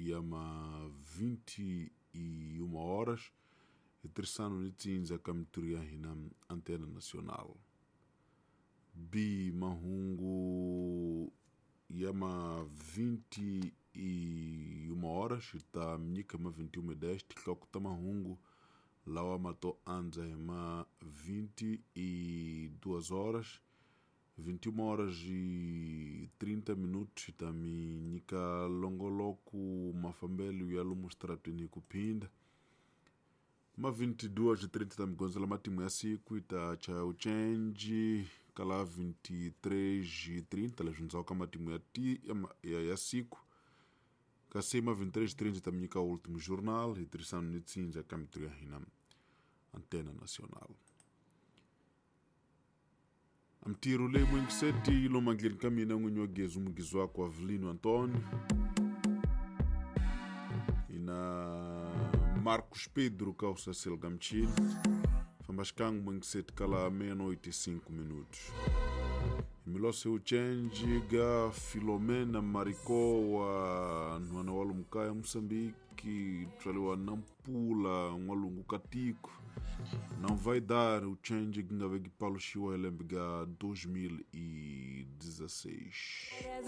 ya ma 21 horas hi tirhisano ni tsindza ka mintirho ya hina Antena Nacional. B mahungu ya ma 21 horas hi ta mi nyika ma 21:10 tinhloko ta mahungu lawa ma to andza hi ma 22 horas. 21 horas e 30 minutos hi ta mi nyika longoloko mafambelo ya lomu xitarateni hi ku phinda. Ma 22:30 ta mi gondzela matimu ya siku hi ta chaya ucenji kala 23:30 leswi ndzhaku ka matimu ya, ti, ya, ya, ya siku. Kasi ma 23:30 ta mi nyika Último Jornal hi tirhisano ni tsindza ka mintirho ya hina Antena Nacional. Mintirho leyi muingiseti yi lo mandleni ka mina n'winyi wa gezi mugizi wakwe Avelino Antonio ina Marcos Pedro ka usasel gamchini famba xikan'we muingiseti kala meia-noite e 5 minutos. Milose uchenji ga Filomena Marikowa nhwana wa Lumkaya Moçambique tswariwa Nampula n'walungu ka tiko não vai dar o change que nga veki paluxiwa hi lembe ga 2016.